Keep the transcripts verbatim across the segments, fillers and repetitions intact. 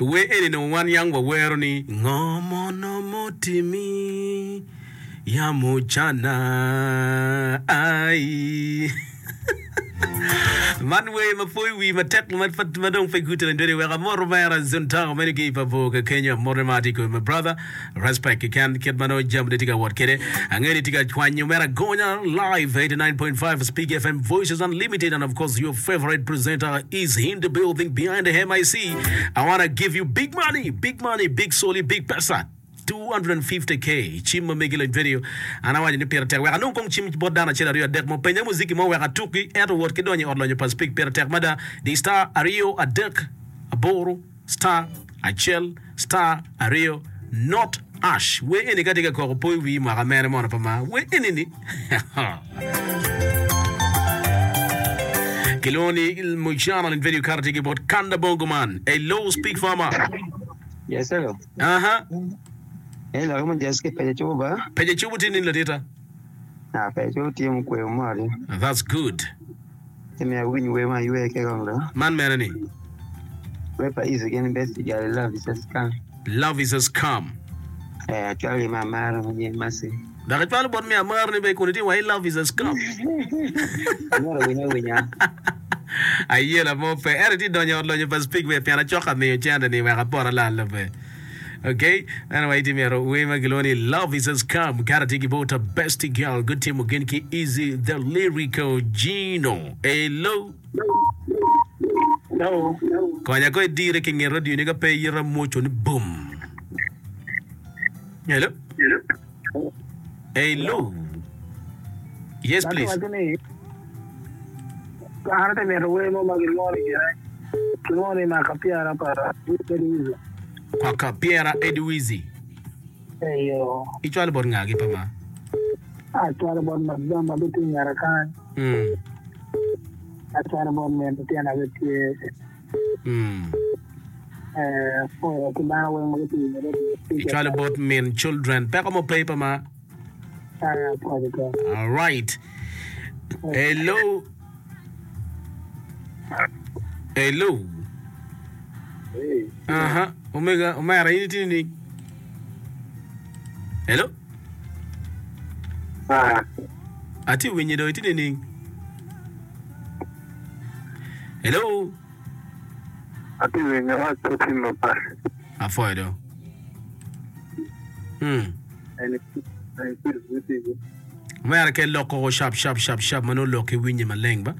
We eni nongo wan yang wawero ni ngo mono mutimi yamo cana ai. Man wer ma pwoyo wi matek ma dong pe gute lany wek amoto mera Zuntago meno ki i pa bor ka kenyo amoto ma atye kwede my brother respect keken kit ma nongo jamine tye ka wot kwede angeyo ni tye ka cwanyo mere agonya live eighty-nine point five Speak F M Voices Unlimited and of course your favorite presenter is in the building behind the M I C I wanna give you big money big money big soli big pesa two hundred and fifty K cim ma megi lony video an awaco ni pire tek wek anong kong cim bot dano acel aryo adek mo penya muziki mo wek atuki ento wot ki donyo i ot lonyo pa Speak pire tek mada di star aryo adek aboro star acel star aryo not ash we eni ka tye ka koko po i wii mwaka mere mono pa ma we eni ni kilwongo ni Mujana lony video kare tye ki bot Kanda Bongo man hello Speak Farmer. Yes hello. Aha. Ee lok mo Jessica peja cubo ba? Peja cubo tye nini ladita? Ah peja cubo tye mukweyo moti. That's good. Ci miyo awiny wer ma aywe ki kong do. Man mere ni? Wer pa Easy gin best jali love is a scam. Love is a scam. Eh acwalo ki me amara ma gin Mercy. Dok icwalo bot me amara ni be kun itye wa i love is a scam. Amyero awiny awinya. Ayela mo pe. Ento itye donyo i ot lonyo pa Speak be pien acok amiyo cente ni wek apot alal be. Okay? Anyway, itye myero wer ma kilwongo ni Love is a Scam. Kara tye ki bot Bestie Girl. Gutimo gin ki Easy the Lyrical Gino. Hello. Hello. Konya ko idire ki nget radio ni ka pe iyita mwoco ni boom. Hello. Hello. Yes, please. Waco ni an atye mito wer mo ma gilwongo ni gine kilwongo ni maka pyera pa Edwizi. Maka pyera Edwizi. Eyo. Icwalo bot ngagi pa ma? Acwalo bot madam ma gitye i ngeta kany. Mm. Acwalo bot min litino gitye. Mm. Eh, apwoyo ki dano weng ma gitye i ngeta. Icwalo bot min children. Peko mo pe pa ma? All right. Hello. Hello. Aha. Omega, omera in itye ni. Hello. Atye winyi do itye ni. Hello. Atye winyo awaco ci maber. Afoyo do. Hmm. Omera ke lok koko shap shap shap shap ma nongo lok ki winye maleng ba.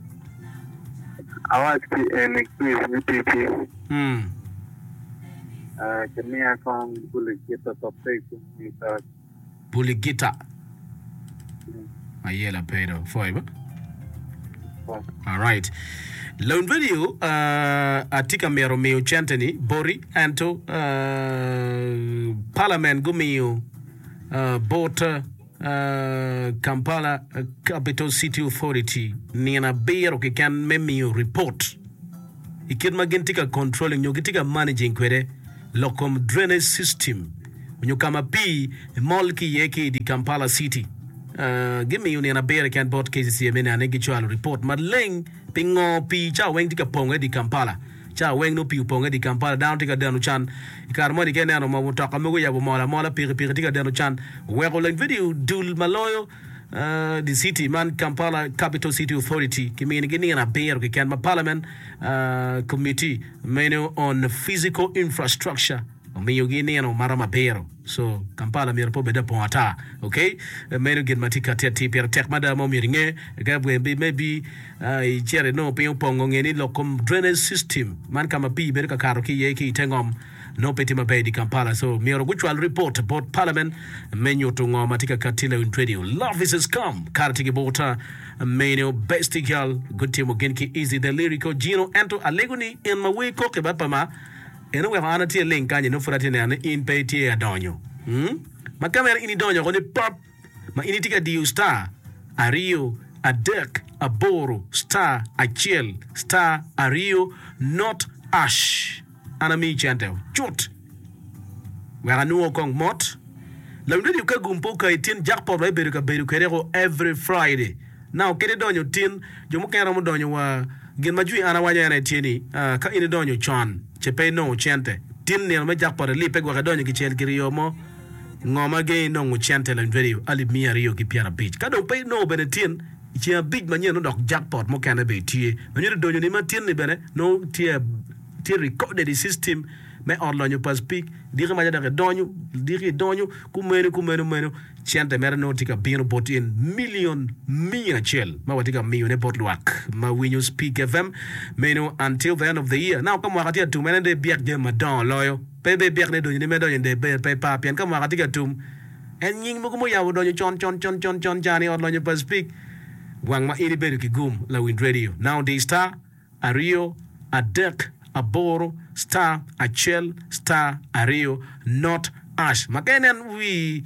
Awac ki eni quiz me ticci. Hmm. Kimiya kong buligita pa pego mita. Buligita. Ayela pedo. Foy ba. All right. Lone Radio uh, atye ka mito miyo cente ni boti ento uh, parliament gumiyo uh, bot uh, Kampala Capital City Authority nino abiro keken me miyo report i kit ma gin tye ka controlling nyo gitye ka managing kwede lok kom drainage system nyo ka ma pii mol ki iye ki i dye Kampala City. Gimiyo nino abiro keken bot K C C A me neno ni gicwalo ripot maleng pingo pii cawa weng tye ka ponge i dye Kampala. Cawa weng nongo pii oponge i dye Kampala, dano tye ka deno can. I kare moni ka ineno ma mutoka mogo oyabo mol amola, pikipiki tye ka deno can. Oweko leng vidio dul ma loyo dye city man Kampala Capital City Authority kiminigi nino abiro keken ma Parliament Committee meno on Physical Infrastructure omiyogi nino maromo abiro. So Kampala myero pe obed apong ata. Ok, meno gin ma tye kati atir pire tek mada ma omyero inge. Ka maybe icito inongo piny opongo nge ni lok kom drainage system man ka ma pii bedo ka kato ki iye ki ite ngom nongo pe tye maber i dye Kampala. So myero gucwal report bot parliament me nyuto ngo ma tye ka kati lewin radio. Love is a scam. Kare tye ki bota meno bestie girl gutimo gin ki easy the lyrical Gino ento alego ni en ma wer koki ba pa ma En oweko an atye ling kany nongo pud atye neno ni in pe itye adonyo. Hmm? Ma ka mere in idonyo oko ni pop ma in itye ka diyo star aryo adek aboro star acel star aryo not ash. An amiyi cente cut wek anwo kong mot. Lawiny radio ka gum pe okayi tin jackpot wa ibedo ka bedo kwede ko every Friday. Now kit idonyo tin, jo mukene romo donyo wa gin ma jwi an awaco en aye tye ni ka in idonyo con ce pe inongo cente Tin nino me jackpot ilibbe gwok idonyo kicel kiryo mo. Ngo ma gengi nongo cente lawiny radio alip miya aryo ki pyerabic. Ka dong pe inongo bene tin, i ceng abic manyen nongo dok jackpot mukene bene tye. Ma nyuto donyoni ma tin-ni bene nongo tye tye recorded i system me ot lonyo pa Speke. Diki maca dok idonyo, diki idonyo, kumeno kumeno meno cente mere nongo tye ka bino bot in million miya acel ma watye ka miyone bot lwak ma winyo Speke FM meno until the end of the year. Now ka mwaka tye ka tum en aye dong ibyek jami madongo loyo. Pe be byek ni donyoni me donyo i ber pe par pien ka mwaka tye ka tum en nying mogo muyabo donyo con con con con con can i ot lonyo pa Speke wang ma in ibedo ki gum lawiny radio now di star aryo adek aboro star acel star aryo not ash ma ka inen wi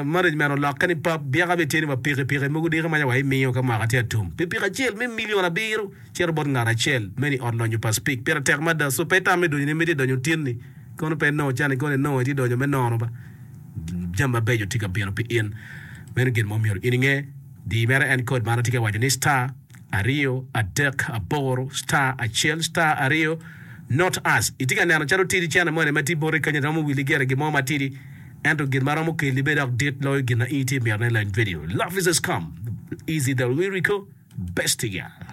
management olokke ni pap byeka bene tye ni wa pikipiki mogo diki maca wa imiyo ka mwaka tye atum pikipiki acel me million abiro cito bot ngat acel meno i ot lonyo pa Speke pire tek mada so pe itam me donyo ni imito idonyo tin-ni kono pe inongo can kono inongo itye donyo me nono ba jami mabeco tye ka bino pi in meno gin ma omyero in inge di mere en code man atye ka waco ni star aryo adek aboro star acel star aryo not us itye ka neno calo tidi cene moni ma tye boti kenyo romo wili gire gin mo matidi ento gin ma romo keli bene dok dit loyo gin ma in itye mito ne lany video love is a scam easy the lyrical best girl.